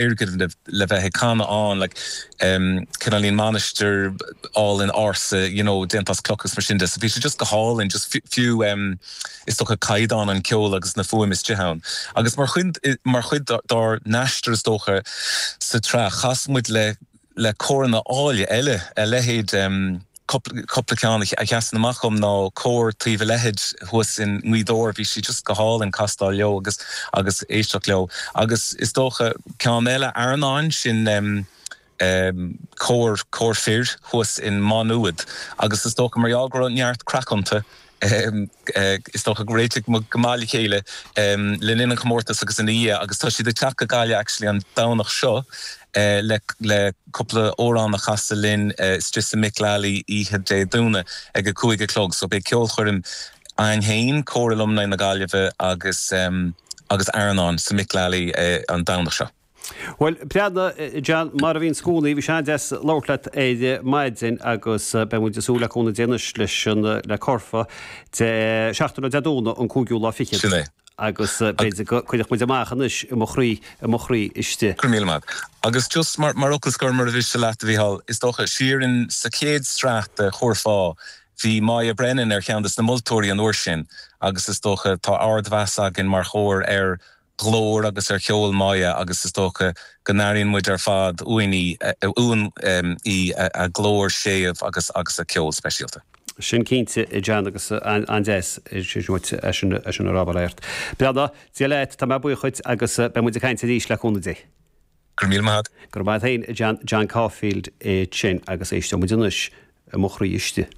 Foirgneamh le bheith ag canadh ann, like cineáilín mainistir álainn ársa, you know, déanta as cloch agus mar sin de. So bhí sé just go hálainn, just fiú is dócha caighdeán an ceoil agus na fuaime istigh ann. Agus mar chuid, mar chuid dár n-aistear is dócha sa tsraith, chas muid le le córanna áille eile, a leithéid Cúpla ceann a sheasann amach dhom ná cór Taobh a' Leithid thuas i nGaoth Dobhair, bhí sé just go hálainn castáil leo agus agus éisteacht leo. Agus is dócha ceann eile, Airneán, sin cór, cór fir thuas in Maigh Nuad agus is dócha mar gheall go raibh neart craic iontu, Is dócha gur réitigh muid go maith le chéile le linn an chomórtais agus ina dhiaidh agus tá siad ag teacht go Gaillimh actually an Domhnach seo le le cúpla amhrán a chasadh linn istigh sa Mick Lally oíche Dé Domhnaigh ag a 5 a chlog. So beidh ceolchoirm againn féin, Cór Alumni na Gaillimhe agus agus Airneán sa Mick Lally an Domhnach seo. Bhuel, breathnaigh, John, mar a bhíonns i gcónaí, bhí sé an-deas labhairt leat ar maidin agus beidh muid ag súil le cúnamh Dé anois leis an, le Curfá, de, seachtain ó Dé Domhnaigh an cúigiú lá fichead. Sin é. Agus b'fhéidir go cuirfeadh muid amach anois i mo chroí, i mo chroí istigh. Go raibh míle maith. Agus just mar, mar fhocal scoir, mura mhiste leat, a Mhícheáil, is dócha, siar in, sa chéad sraith de Churfá, bhí Moya Brennan ar cheann des na moltóirí an uair sin agus is dócha tá ardmheas againn mar chór ar ghlór agus ar cheol Moya agus is dócha go n-airíonn muid ar fad uainn í, uainn í, a glór séimh agus agus a ceol speisialta. Sin cinnte, a John, agus an-deas sin uait é sin a rá, bail ort. Breathnaigh, Dia leat, tá mé buíoch dhuit agus beidh muid ag caint arís le cúnamh Dé. Go raibh míle maith agat. Go raibh maith agat féin, a John, John Caulfield é sin agus éisteoidh muid anois i mo chroí istigh.